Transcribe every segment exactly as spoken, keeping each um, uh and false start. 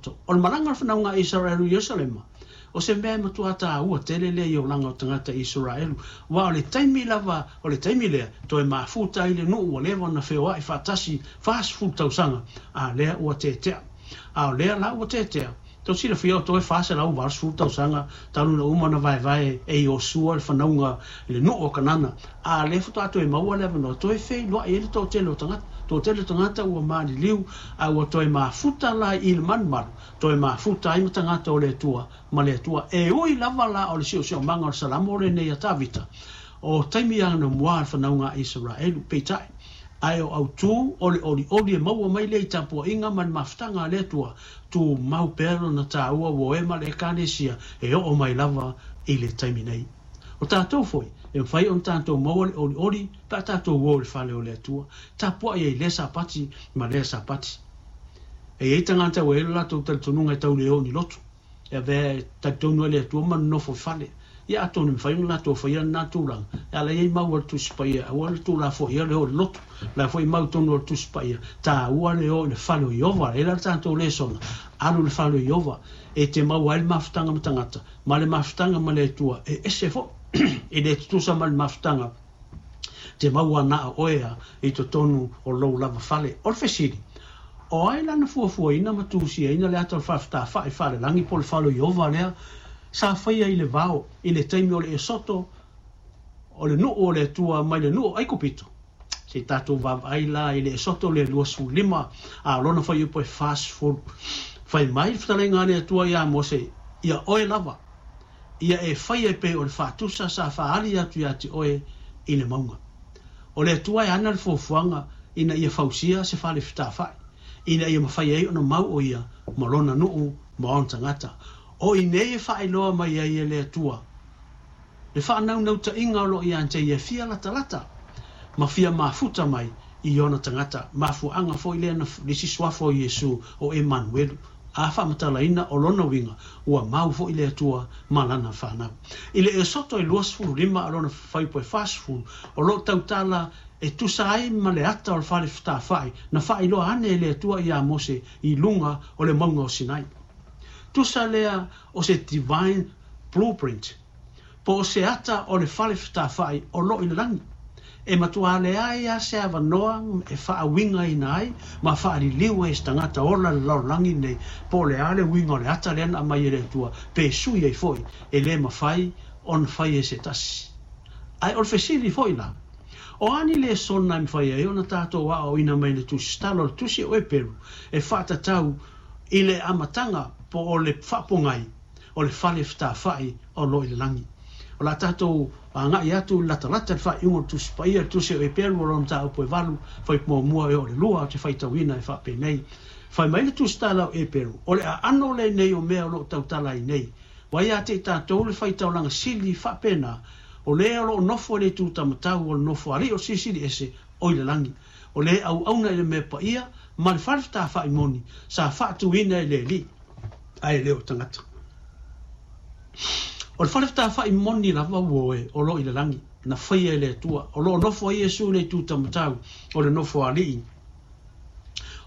loto. O le malaga o le fanauga a Isaraelu i Ierusalema, o se mea e matua taua tele lea i olaga o tagata Isaraelu, aua o le taimi lava o le taimi lea toe mafuta ai le nuu ua leva ona feoai faatasi fasefulu tausaga, a lea ua tetea. A o lea la ua tetea, tou silafia o toe fa selau valusefulu tausaga talu na uma ona vaevae e Iosua le fanauga i le nuu o Kanana, a lea faatoa toe maua le avanoa toe feiloai ai le toatele o tagata. Toatele o tagata ua maliliu, a ua toe mafuta la i le malumalu, toe mafuta ai ma tagata o le Atua ma le Atua. E ui lava la o le siosiomaga o le Salamo lenei a Tavita, o taimi anamua le fanauga a Isaraelu, peitai ae o autū o le olioli e maua mai lea i tapuaiga ma le mafutaga a le Atua, tumau pea lona taua ua e ma le Ekalesia e oo mai lava i le taimi nei. O tatou foi, e mafai ona tatou maua le olioli pe a tatou o i le fale o le Atua, tapuai ai lea Sapati ma lea Sapati. E i ai tagata ua i ai lo latou talitonuga e tau le o ni lotu, e avea e talitonu ai le Atua ma nonofo i fale. Ia atonu e mafai ona latou faia lena tulaga, e ala i ai mau a le Tusi Paia, aua le tuulafoaia le o i le lotu. O la foi mau tonu o le Tusi Paia, taua le o i le fale o Ieova. E la le tatou lesona, alu i le fale o Ieova, e te maua ai le mafutaga ma tagata, ma le mafutaga ma le Atua, e ese foi, e le tutusa ma le mafutaga te maua na o oe a i totonu o lou lava fale. O le fesili, o ai lana fuafuaina ma tusiaina le ata o le faafetafai faalelagi po o le fale o Ieova lea sa faia i le vao i le taimi o le Esoto o le nuu o le Atua mai le nuu o Aikupito? Se i tatou vaavaai la i le Esoto le luasefulu lima, a o lona fuaiupu e fasefulu. Fai mai le fetalaiga a le Atua iā Mose, ia oe lava, ia e faia e pei o le faatusa sa faaali atu iā te oe i le mauga. O le Atua e ana le fuafuaga ina ia fausia se fale fetafai, ina ia mafai ai ona mau o ia ma lona nuu ma ona tagata. O i nei e faailoa mai ai e le Atua le faanaunautaiga o loo ia te ia fia latalata ma fia mafuta mai i ona tagata. Mafuaaga foi lea na le isi suafa o Iesu o Emanuelu, a faamatalaina o lona uiga ua mau foi le Atua ma lana fanau. I le Esoto e luasefulu lima a lona fuaiupu e fasefulu, o loo tautala e tusa ai ma le ata o le fale fetafai na faailoa ane e le Atua iā Mose i luga o le mauga o Sinai. Tusa lea o se divine blueprint, po o se ata o le fale fetafai o loo i le lagi, e matua leai lava se avanoa e faauigaina ai ma faaliliu ai e se tagata ola i le lalolagi nei, po o le a le uiga o le ata lea na aumai e le Atua, pe sui ai foi, e le mafai ona fai e se tasi. Ae o le fesili foi la, o a ni lesona e mafai ai ona tatou aoaoina mai le Tusi Tala o le Tusi o Eperu e faatatau i le amataga po o le faapogai o le fale fetafai o loo i le lagi? O le a tatou agai atu i le latalata i le faaiuga o le Tusi Paia, le Tusi o Eperu o lona mataupu e valu, fuaiupu muamua e oo i le lua, ou te faitauina e faapenei. Fai mai le Tusi Tala o Eperu, o le aano lenei o mea o loo tautala ai nei. Ua ia te i tatou le faitaulaga sili faapena, o le o loo nofo i le itu taumatau o le nofo alii o le Silisili Ese o i le lagi, o le auauna i le mea paia ma le fale fetafai moni sa faatuina e le Alii, ae le o tagata. O le fale fetafai moni lava ua oe o loo i le lagi, na faia e le Atua, o loo nofo ai Iesu i le itu taumatau o le nofo alii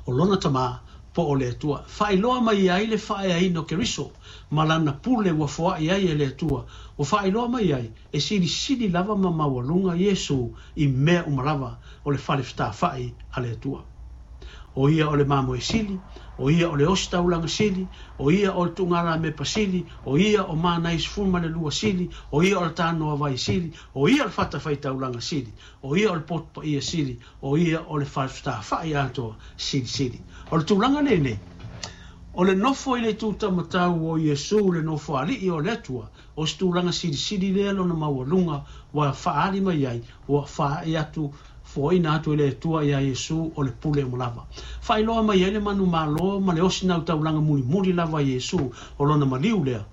o lona Tamā po o le Atua. Faailoa mai ai le faaeaina o Keriso ma lana pule ua foai ai e le Atua, ua faailoa mai ai e silisili lava ma maualuga Iesu i mea uma lava o le fale fetafai a le Atua. O ia o le mamoe sili, o ia o le ositaulaga sili, o ia o le tuugalamepa sili, o ia o mana e sefulu ma le lua sili, o ia o le tanoavai sili, o ia o le fatafaitaulaga sili, o ia o le poto paia sili, o ia o le fale fetafai atoa silisili. O le tulaga lenei, o le nofo i le itu taumatau o Iesu, le nofo alii o le Atua, o se tulaga silisili lea lona maualuga ua faaali mai ai, ua faaee atu foaina atu e le Atua iā Iesu o le pule uma lava. Faailoa mai ai le manumalo ma le osinautaulaga mulimuli lava a Iesu o lona maliu lea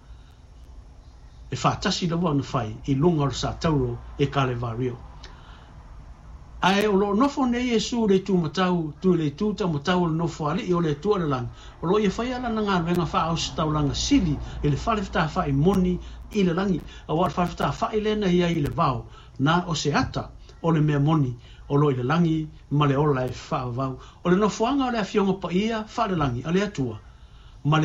e faatasi lava ona fai i luga o le satauro e Kalevario. Ae o loo nofo nei Iesu i le itu matau, tu i le itu taumatau o le nofo alii o le Atua i le lagi, o loo ia faia lana galuega faaositaulaga sili i le fale fetafai moni i le lagi, auā o le fale fetafai lea na i ai i le vao, na o se ata o le mea moni o loo i le lagi ma le ola e faavavau. O le nofoaga o le Afioga Paia faalelagi a le Atua.